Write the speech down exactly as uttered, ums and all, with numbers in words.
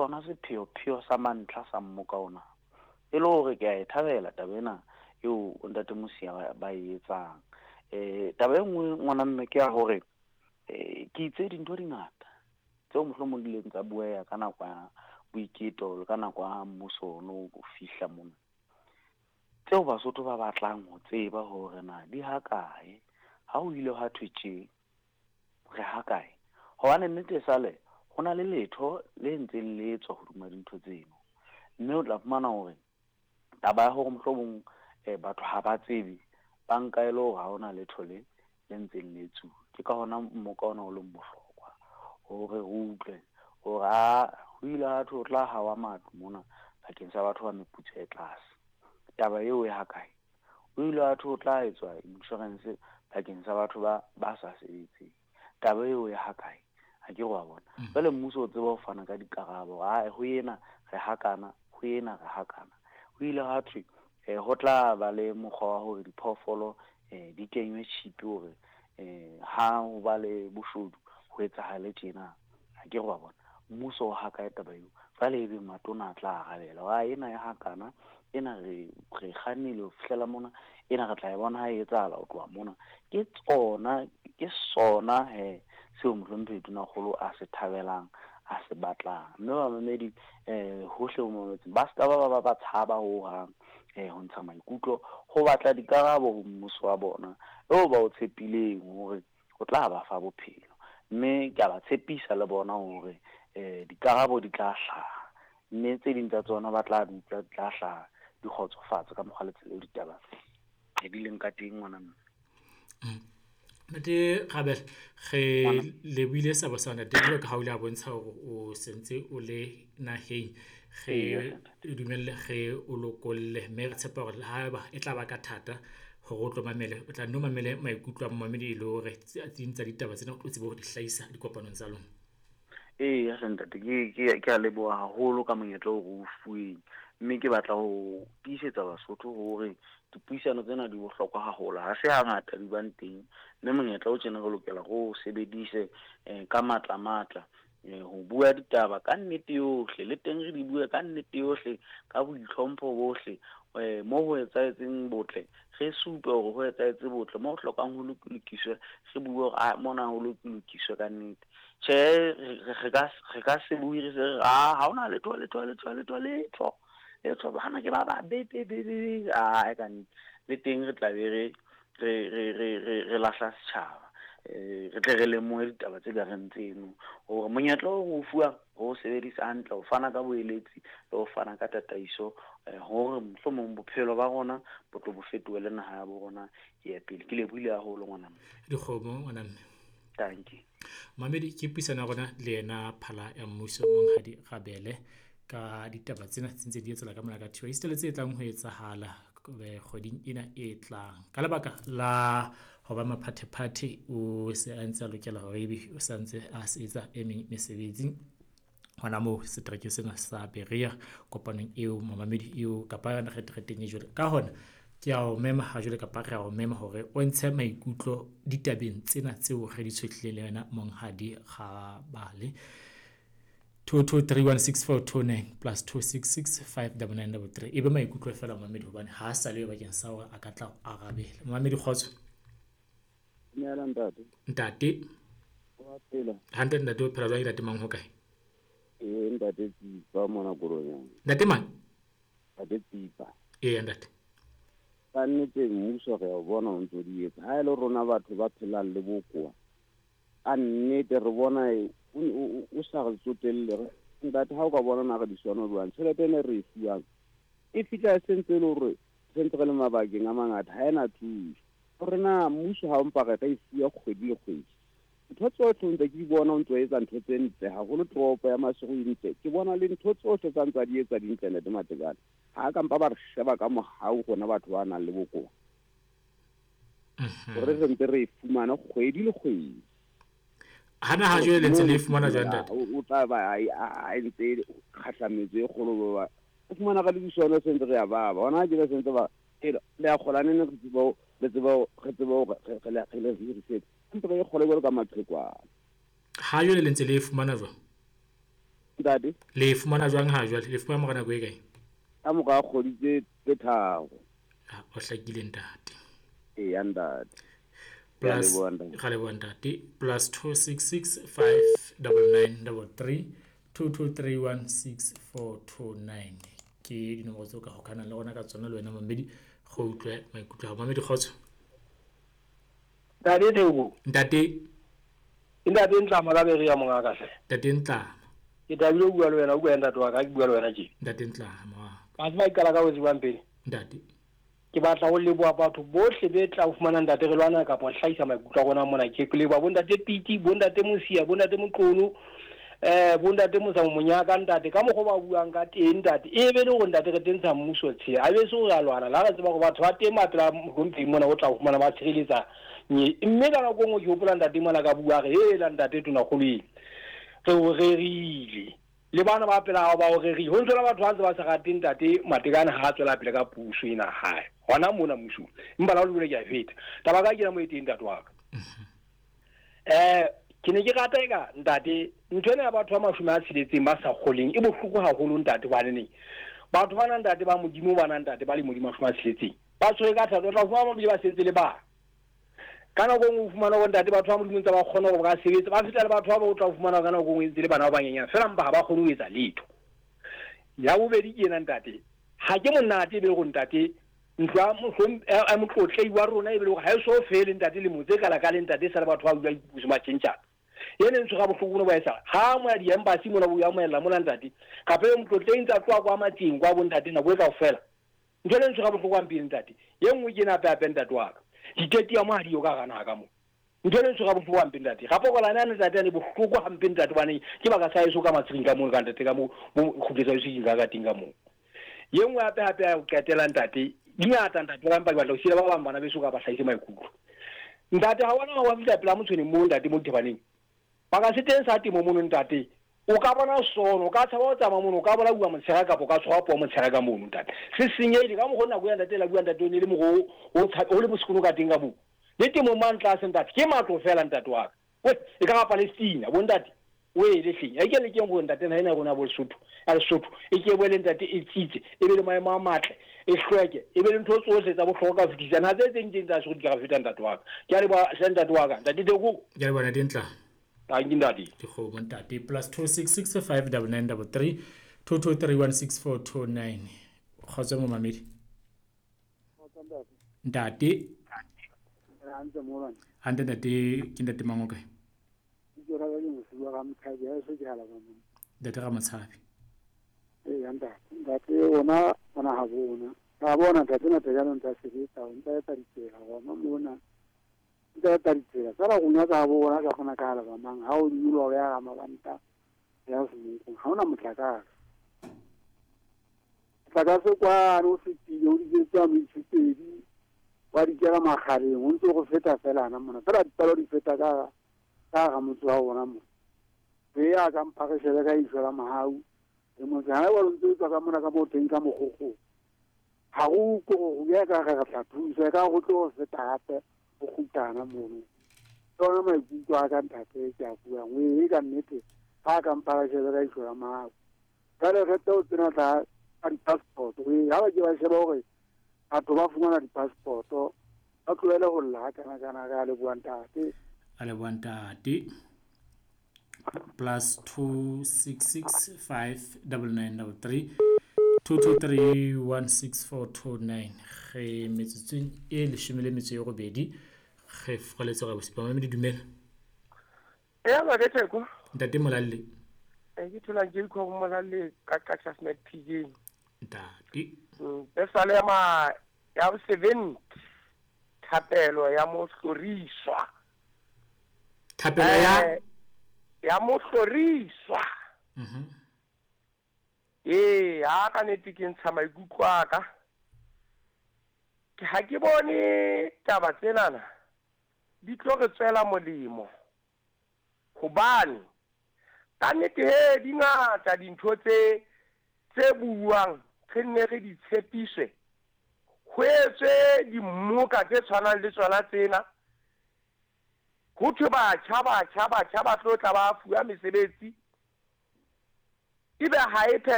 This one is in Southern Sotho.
Sona sepheo-pheo sa mantlha sa mmoka ona. E le hore ke a e thabela taba ena eo ntate Mosia ba, ba e etsang. Eh taba e nngwe ngwana mme ke ya hore eh ke itse dintho di ngata tseo mohlomong di ileng tsa bueha ka nako ya boiketo le ka nako ya mmuso ono o fihla mona. Tseo Basotho ba batlang ho tseba hore na di ha kae, ha o ile ha thwe tje re ha kae. Hobane nnete e sale ho na le letho le ntseng le etswa hodima dintho tseno. Mme o tla fumana hore taba ya hore mohlomong eh batho ha ba tsebe, ba nka e le hore ha hona letho le le ntseng le etsuwa. Ke ka hona mmoka ona o leng bohlokwa hore re utlwe hore ha ho ile ha thwe ho tla hawa matlo mona bakeng sa batho ba meputso e tlase. Taba eo e ha kae? Ho ile ha thwe ho tla etswa insurance bakeng sa batho ba ba sa sebetseng. Taba eo e ha kae? Ha ke re wa bona. Jwale mmuso o tseba ho fana ka dikarabo, ae ho ena re hakana, ho ena re hakana. Ho ile ha thwe eh ho tla ba le mokgwa wa hore diphoofolo eh di kenywe chip hore eh ha ho ba le boshodu ho etsahale tjena. Ha ke re wa bona. Mmuso o ha kae taba eo? Jwale ebe matona a tla arabela wa ena ya hakana, ena re re kgannile ho fihlela mona, ena re tla e bona ha e etsahala ho tloha mona. Ke tsona, ke sona he seo mohlomphehi Tonakgolo a se thabelang, a se batlang. Mme bamamedi eh hohle ho mametseng ba ska ba ba ba ba tshaba hohang eh ho ntsha maikutlo, ho batla dikarabo ho mmuso wa bona eo ba o tshepileng hore o tla ba fa bophelo. Mme ke a ba tshepisa le bona hore eh dikarabo di tla hlaha, mme tse ding tsa tsona ba tla di utlwa di tla hlaha di kgotsofatse ka mokgwa le tsela eo ditaba di leng ka teng ngwana mme. Ntate Rabele, re lebohile sabo sa ntate jwalo ka ha o ile a bontsha hore o sentse o le naheng. Re dumelle re o lokolle, mme re tshepa hore le haeba e tla ba ka thata hore o tlo mamele, o tla nno mamele maikutlo a momamedi e le hore tse ding tsa ditaba tsena o tlo tsebe ho di hlahisa dikopanong tsa lona. Eya hle ntate, ke ke ke a leboha haholo ka monyetla oo re o fuweng. Mme ke batla ho tiisetsa Basotho hore dipuisano tsena di bohlokwa haholo. Ha se hangata di bang teng, mme monyetla o tjena re lokela re o sebedise eh ka matla matla eh ho bua ditaba ka nnete yohle, le teng re di bue ka nnete yohle, ka boitlhompho bohle. Eh mo ho etsahetseng botle, re supe hore ho etsahetse botle, mo ho hlokang ho lokiswe, re bue hore a mona ho lokiswe ka nnete. Tjhe, re ka re ka se bue re se re ha ha hona letho letho letho letho letho letho bana ke ba babe be be be ae ka nnete. Le teng re tla be re re re re re re lahla setjhaba. Eh re tle re lemohe ditaba tse ka reng tseno hore monyetla o re o fuwang re o sebedise hantle ho fana ka boeletsi le ho fana ka tataiso eh hore mohlomong bophelo ba rona bo tlo bo fetohe le naha ya bo rona e ye pele. Ke lebohile haholo ngwana mme. Dikgomo ngwana mme. Dankie. Mamedi, ke puisano ya rona le yena phala ya mmuso Monghadi Rabele ka ditaba tsena tse ntse di etsahala ka mona ka Thiba. Esita le tse tlang ho etsahala kgweding ena e tlang. Ka lebaka la ho ba maphathephathe, o se a ntse a lokela hore ebe o sa ntse a sebetsa e meng mesebetsi hona moo seterekeng sena sa Berea kopanong eo momamedi eo kapa yona retreteng e jwalo. Ka hona ke a o mema ha jwale kapa re a o mema hore o ntshe maikutlo ditabeng tsena tseo re di tshohlileng le yena Monghadi Rabale. two two three one six four two nine plus two six six five double nine double three. Ebe maikutlo feela momamedi hobane ha a sa le bakeng sa hore a ka tla arabela. Momamedi kgotso. Dumela ntate. Ntate. Wa phela. Hantle ntate, o phela jwang? Ntate mang ho kae? Eh ntate Tsipa mona Koronyana. Ntate mang? Ntate Tsipa. Ee ntate. Ka nnete mmuso re a o bona o ntso di etsa. Ha e le rona batho ba phelang le bokowa, ka nnete re bona o o o sa re tsotelle. Ntate ha o ka bona na re di sono jwang, tjhelete ene re e fuwang e fihla e sentse e le hore sentse re le mabakeng a mangata, ha ena thuso. Hore na mmuso ha o mpa re ka e fuwa kgwedi le kgwedi, ntho tsohle ntse ke di bona o ntso etsa ntho tse ntle haholo. Toropo ya Maseru e ntle, ke bona le ntho tsohle tsa ntse a di etsa di ntle ntate Matekane. Ha ka mpa ba re sheba ka mohau rona batho ba nang le bokowa, hore re ntse re e fumana kgwedi le kgwedi. Hana ha jwale le ntse le e fumana jwang ntate? O tla ba a ntse kgahlametso e kgolo ba o fumana ka lebiswana se ntse re ya baba. Hona ke ba sentse ba le a kgola nene re tseba le tseba re tseba re le re le hirisetse. Ntse re kgole jwalo ka maqhekwana. Ha jwale le ntse le e fumana jwang? Ntate le fumana jwang ha jwale le fumana mora nako e kae? Ka mora kgwedi tse tse tharo. Ha o hlakile ntate. Eya ntate. Plus ga le bua ntate plus two six six five double nine double three two two three one six four two nine ke dinomoro tseo ka hokanang le rona ka tsona le wena mamedi go utlwe maikutlo a mamedi kgotso. Ntate Theko. Ntate. Ntate Ntlama ka bere ya monga ka hle. Ntate Ntlama. Ke thabile ho bua le wena, o bua ntate wa ka, ke bua le wena tje. Ntate Ntlama. Ba tseba ke qala ka ho tsebang pele. Ntate. Ke batla ho leboha batho bohle be tla ho fumana ntate re lwana kapa hlahisa maikutlo a rona mona. Ke leboha bo ntate Piti, bo ntate Mosia, bo ntate Moqono, eh bo ntate Mosa Monyaka ntate ka mokgwa ba buang ka teng ntate. E be le hore ntate re tentsha mmuso tshe. A be se o ya lwana la re tseba hore batho ba teng ba pela mohlomphehi mona o tla ho fumana ba tshireletsa. Mme ka nako nngwe ke hopola ntate mona ka bua re hela ntate tonakgolo ena. Re o rerile. Le bana ba pela hao ba o rerile. Ho ntse batho ba ntse ba sa rate ntate Matekane ha a tswela pele ka puso ena hae. Hona mona mmusong. Empa la o le ke a feta. Taba ka ke na mo e teng ntate wa ka. Eh ke ne ke rata eka ntate ntho ena ya batho ba mashome a tsheletseng ba sa kgoleng e bohloko haholo ntate hobane neng. Batho ba nang ntate ba Modimo ba nang ntate ba le Modimo mashome a tsheletseng. Ba tshwere ka thata o tla fumana ba bile ba sentse le bana. Ka nako nngwe o fumana hore ntate batho ba Modimo ntse ba kgona hore ba ka sebetsa ba feta le batho ba ba o tla fumana ka nako nngwe ntse le bana ba banyenyane fela mpa ha ba kgone ho etsa letho. Ya bobedi ke ena ntate ha ke monate e be hore ntate ntlo ya motlotlei wa rona e be hore ha e so fele ntate le motse kala ka le ntate sa le batho ba bua dipuso ba tjhentjhana. Ene ntho ga bohloko no ba etsa ha mo ya di-embassy mona bo ya moella mona ntate kape motlotlei ntse a tloha kwa matseng kwa bo ntate nako e kaofela. Ntho ene ntho ga bohloko hampeng ntate ye nngwe ke ena hape hape ntate wa ka. Diteti ya mo ha diyo ka gana ka mo. Ntho ene ntho ga bohloko hampe ntate. Gape go lana ntate ne bohloko hampe ntate bane ke baka sa eso ka matseng ka mo ka ntate ka mo mo kgutletsa eso ka ka teng ka mo. Ye nngwe hape hape ya ho qetela ntate di ngata ntate ba mpa ke batla ho siela ba bang bana beso ka ba hlahise maikutlo. Ntate ha wona wa fihla pela motshweneng mo ntate mo dithebaneng. Ba ka se teng sa temo mono ntate. O ka bona sono, o ka tshaba ho tsamaya mono, o ka bona bua motshehare kapa o ka tshwara puo motshehare ka mono ntate. Se senyehile ka mokgwa nako ya ntate la bua ntate o ne le mokgwa o o le bosekono ka teng ka moo. Le temo mang tlase ntate ke matlo fela ntate wa ka. We e ka ga Palestina bo ntate. O e le hleng. A ke le keng go ntate na ena rona bo Lesotho. A Lesotho e ke boele ntate e tsitse, e be le maemo a matle, e hlweke, e be le ntho tsohle tsa bohlokwa ka ho fetisisa. Ha tse tse ntse tsa se di ka feta ntate wa ka. Ke a leboha hle ntate wa ka. Ntate Theko. Ke a leboha ntate Ntla. Thank you ntate. Dikgomo ntate plus two six six five double nine double three two two three one six four two nine. Kgotso momamedi. Ntate. Hantle ntate ke ntate mang o kae? Ntate Ramotshabi. Ee ntate. Ntate ona ona ha bona. Ha bona ntate ntate ya ntse a sebetsa, o ntse a etsa ditsela gona mona. Ntse a etsa ditsela. Fela go nyatsa ha bona ka kgona ka alaba mang ha o nyoloha ya ga mabanta ya Semonkong ha ona motlakase. Motlakase kwane o fetile o dijetse a metsi wa di kela magareng o ntse go feta fela ana mona. Fela dipalo di feta ka ka ga motse wa bona mo. Be ya ka mphagisele ka ihlo la mahau. Le motse ha wa ntse o tswa ka mona ka mo teng ka mogogo. Ha go ko go ya ka ga tla thusa ka go tlo feta hape go kgutana mono. Tsona maikutlo a ka ntate ke a buang o e ka nnete ha ka mphagisele ka ihlo la mahau. Jwale re tlo tsena tla ka di-passport o e ha ba ke ba sheba hore batho ba fumana di-passport ba tlohele ho lla ha kana kana ka leboha ntate. A leboha ntate. Plus two six six five double nine double three two two three one six four two nine. Re metsotsong e leshome le metso e robedi re froletse ga bosipa mamedi dumela. Eya ba Theko. Ntate Molalle. E ke thola ke go Molalle ka ka Smart P J. Ntate. Pesale ma ya seventy thapelo ya mohloriswa. Thapelo ya ya mohloriswa. Mhm. Eh, ha ka nete ke ntsha maikutlo a ka. Ke ha ke bone taba tsenana di tlo re tswela molemo. Hobane ka nnete he di ngata dintho tse tse buang re nne re di tshepiswe. Ho etswe dimmoka tse tshwanang le tsona tsena. Ho thwe batjha batjha batjha ba tlo tla ba fuwa mesebetsi. Ebe ha e